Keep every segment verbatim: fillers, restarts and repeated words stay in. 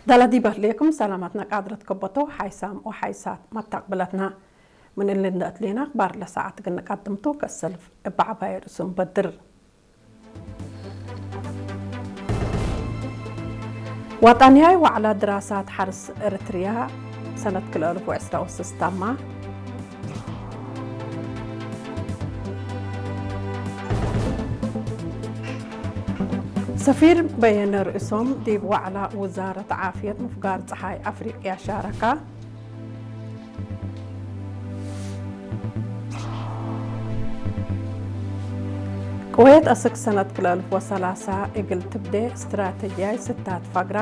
ዳላ ዲብ አህሌኩም ሰላማትና ቃድረት ከበቶ ሓይሳም ወሓይሳት መታቅብለትና። ምን እሊ እንደ እትሌና አክባር ለሰዓት እግል ንቀድምቱ ከሰልፍ እብ ዐባይ ርእሱ እንበድር። ወጠንያይ ወዕለ ድራሳት ሐርስ እርትርያ ሰነት ክልኤ አልፍ ወዕስራ ወስስ ታማ። ሰፊር በየነ ርእሶም ዲብ ወዕለ ውዛረት ዓፍየት ምፍጋር ጸሓይ አፍሪቅያ ሻረካ። ቅዌት አስክ ሰነት ክልኤ አልፍ ወሰላሳ እግል ትብዴ ስትራተጅያይ ስታት ፈግራ።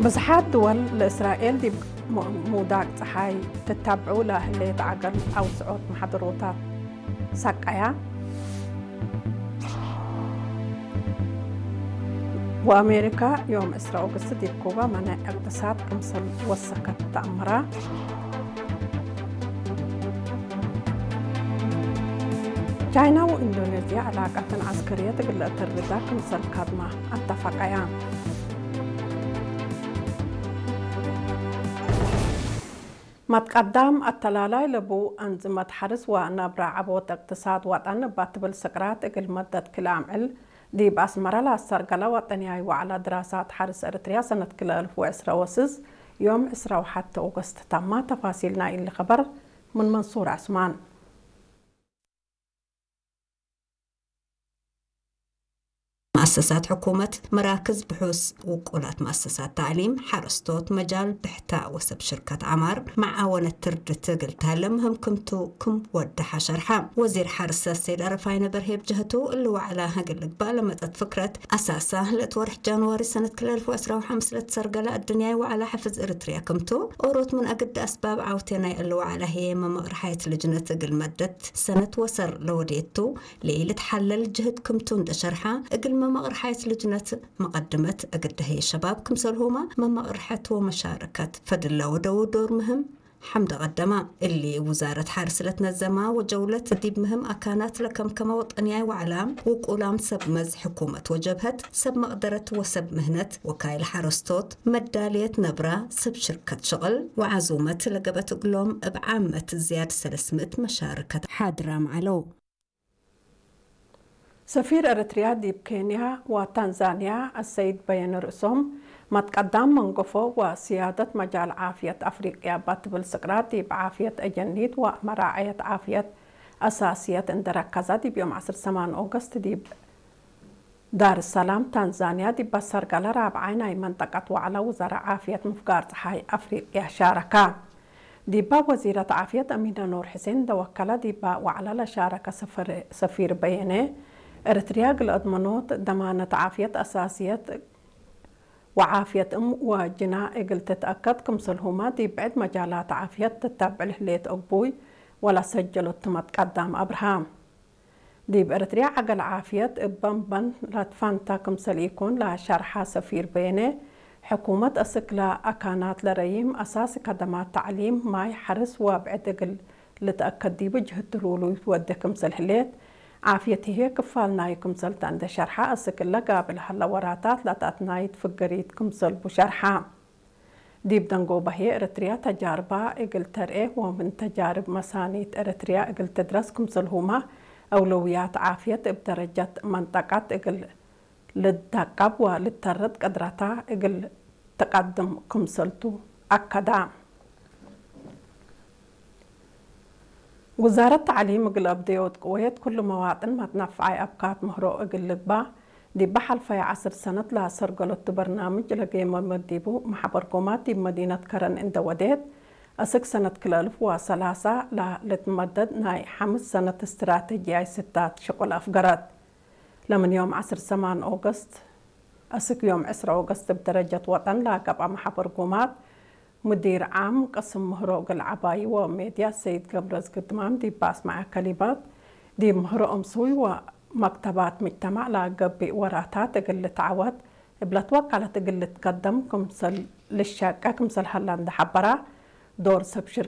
ብዝሓት ድወል ለእስራኤል ዲብ ሙ-፣ ሙዳቅ ጸሓይ ትታብዑ ለህሌት ዐገል አውስዖት መሐደሮታት ሰቀያ። ወአሜሪካ ዮም ዕስራ ኦገስት ዲብ ኩባ መነ እቅትሳድ ክምሰል ወሰከት ተአምራ። ቻይና ወኢንዶኔዝያ ዕላቀተን ዐስከርየት እግል ለአተርዳ ክምሰል ካድማ አተፈቀያ። መትቀዳም አተላላይ ለቡ አንዝመት ሐርስ ወነብረ ዐቦት እቅትሳድ ወጠን እባ ትብል ስቅራት እግል መደት ክል አምዕል ዲብ አስመረ ለአሰርገለ ወጠንያይ ወዕለ ድራሳት ሐርስ እርትርያ ሰነት ክልኤ አልፍ ወዕስራ ወስስ ዮም ዕስራ ወሐቴ ኦገስት ተማ። ተፋሲል ናይ እሊ ከበር ምን መንሱር ዐስማን። መአሰሳት ሕኩመት፣ መራክዝ ብሑስ፣ ውቁላት መአሰሳት ተዕሊም፣ ሐረስቶት፣ መጃል ብሕታ ወሰብ ሽርከት ዐማር መዓወነት ትርድት እግል ተህለ ምህም ክምቱ ክም ወደሐ ሸርሐ። ወዚር ሐርሰ ሰይድ አረፋይነ በርሄ ብጀህቱ፣ እሊ ወዕላ እግል ልግባእ ለመጸት ፍክረት አሳሳ፣ ለእት ወርሕ ጃንዋሪ ሰነት ክልኤ አልፍ ወዕስራ ወሐምስ ለትሰርገለ አዱንያይ ወዕላ ሕፍዝ እርትርያ ክምቱ፣ ኦሮት ምን አግደ አስባብ ዐውቴ ናይ እሊ ወዕላ ህዬ መመቅርሐየት ልጅነት እግል መደት ሰነት ወሰር ለወዴቱ፣ ለኢልትሐለል ጅህድ ክምቱ እንዴ ሸርሐ፣ እግልመ መቅር ሐይስ ልጅነት መቀድመት እግል ደህየ ሸባብ ክምሰልሁመ መመቅርሐት ወመሻረከት ፈድል ለወደዉ ዶር ምህም ሐምደ ቀደመ። እሊ ውዛረት ሐርስ ለትነዘማ ወጀውለት ዲብ ምህም አካናት ለከምከመ ወጠንያይ ወዕላ፣ ውቁላም ሰብ መዝ ሕኩመት ወጀብሀት፣ ሰብ መቅደረት ወሰብ ምህነት፣ ወካይል ሐረስቶት፣ መዳልየት ነብራ፣ ሰብ ሽርከት ሽቅል ወዓዙመት ለገብአት እግሎም እብ ዓመት ዝያድ ሰለስ ምእት መሻርከት ሓድራም ዐለው። ሰፊር ኤረትርያ ዲብ ኬንያ ወታንዛንያ አሰይድ በየነ ርእሶም፣ መትቀዳም መንገፎ ወስያደት መጃል ዓፍየት አፍሪቅያ እባ ትብል ስቅራት ዲብ ዓፍየት አጀኒት ወመራዐየት ዓፍየት አሳስየት እንዴ ረከዘ፣ ዲብ ዮም ዐስር ሰማን ኦገስት ዲብ ዳርሰላም ታንዛንያ ዲብ አሰርገለ ራብዓይ ናይ መንጠቀት ወዕለ ውዘረ ዓፍየት ምፍጋር ጸሓይ አፍሪቅያ ሻረከ። ዲባ ወዚረት ዓፍየት አሚነ ኑር ሕሴን እንዴ ወከለ፣ ዲባ ወዕለ ለሻረከ ሰፈር-፣ ሰፊር በየነ፣ ኤረትርያ እግል አድመኖት ደማነት ዓፍየት አሳስየት ወዓፍየት እም ወጅና እግል ትትአከድ ክምሰልሁመ፣ ዲብ ብዕድ መጃላት ዓፍየት ትታብዕል ህሌት አግቡይ ወለሰጀሎት ትመትቀዳም አብርሃ። ዲብ ኤረትርያ ዐገል ዓፍየት እበ እምበን ለትፋንታ ክምሰል ኢኮን ለሸርሐ ሰፊር በየነ፣ ሕኩመት አስክ ለአካናት ለረይም አሳሲ ከደማት ተዕሊም፣ ማይ፣ ሐርስ ወብዕድ እግል ልትአከድ ዲቡ ጅህድ ትሉሉይት ወዴ ክምሰል ህሌት፣ ዓፍየት ህዬ ክፋል ናዩ ክምሰል ተ እንዴ ሸርሐ፣ አስክ እለ ጋብል ሀለ ወራታት ለተአትናይት ፍገሪት ክምሰልቡ ሸርሐ። ዲብ ደንጎበ ህዬ፣ ኤረትርያ ተጃርባ እግል ተርኤ ወምን ተጃርብ መሳኒት ኤረትርያ እግል ትድረስ ክምሰልሁመ፣ አውለውያት ዓፍየት እብ ደረጀት መንጠቀት እግል ልትደቀብ ወልትተርድ ቅድረታ እግል ትቀድም ክምሰልቱ አከዳ። ውዛረት ተዕሊም እግል አብደዮት ቅዌት፣ ኩሉ መዋጥን መትነፍዓይ አብካት ምህሮ እግል ልግባእ፣ ዲበ ሐልፈየ ዐስር ሰነት ለአሰርገሎቱ በርናምጅ ለጌመመ ዲቡ፣ መሐበርኮማት ዲብ መዲነት ከረን እንዴ ወዴት፣ አስክ ሰነት ክልኤ አልፍ ወሰላሳ ለልትመደድ ናይ ሐምስ ሰነት እስትራተጅያይ ስታት ሽቁል አፍገረት። ለምን ዮም ዐስር ሰማን ኦገስት አስክ ዮም ዕስራ ኦገስት እብ ደረጀት ወጠን ለገብአ መሐበርኮማት፣ ሙዲር ዓም ቅስም ምህሮ እግል ዐባዩ ወሜድያ ሰይድ ገብረዝግድማም ዲብ አስመዐ ከሊማት፣ ዲብ ምህሮ እምሱይ ወመክተባት ምጅተማዕ ለገብእ ወራታት እግል ልትዐወት እብ ለትወቀለት እግል ልትቀደም ክምሰል ልሸቄ ክምሰል ሀላ እንዴ ሐበረ፣ ዶር ሰብ ሽር-፣